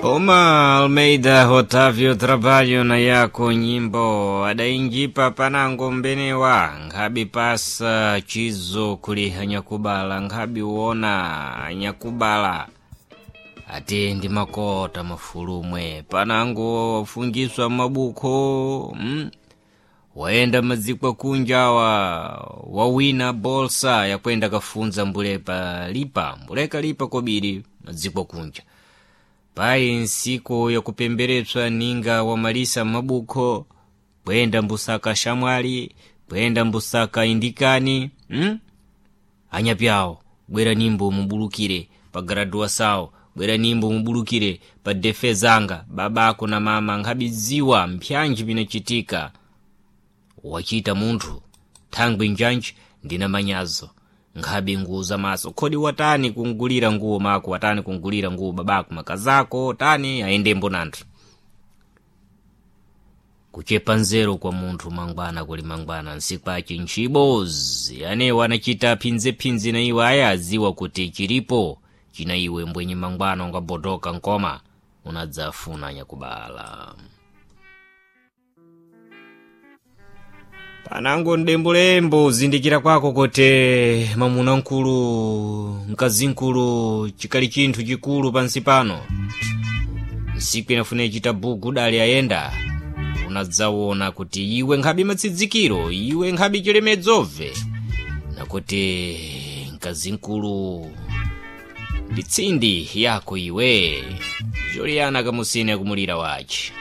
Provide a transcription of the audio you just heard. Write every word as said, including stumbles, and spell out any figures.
Oma Almeida Otávio Trabalho na yako nyimbo adainjipa panango mbenewa nkhabi pasa chizo kuli anyakubala nkhabi uona anyakubala ati ndi makota mafulumwe panango wafungiswa mabukho mm? wayenda madziko kunjawa wawina bolsa yakwenda kafunza mbulepa lipa mbuleka lipa kobiri madziko kunja payi nsiku yakupemberetswa ninga wamalisa mabukho kuyenda mbusaka shamwali kuyenda mbusaka indikani hmm? anyapyawo bwera nimbo mubulukire pa graduasawo bwera nimbo mubulukire pa defezanga babako na mama nkhabidziwa mpyanji pinachitika wachita munthu thangwi njanji ndina manyazo nkhabi nguza maso khodi watani kungulira nguwo mako watani kungulira nguwo babako makazako tani ayendembo nanthu kuchepa nzeru kwa munthu mangwana kuli mangwana nsikwaci ntchibozi anewo anachita phinzephinze na iwe aya adziwa kuti chilipo china iwe mbwenye mangwana ungabodoka nkoma unadzafuna nyakubala panango mdembulembo zindikira kwako kuti mamuna mkulu mkazi mkulu chikali chinthu chikulu pansi pano nsiku inafuna ichita buku dali ayenda unadzaona kuti iwe nkhabi matsidzikiro iwe nkhabi chilemedzobve nakuti mkazi mkulu ndi tsindi yako iwe Juliana kamusini akumulira wachi.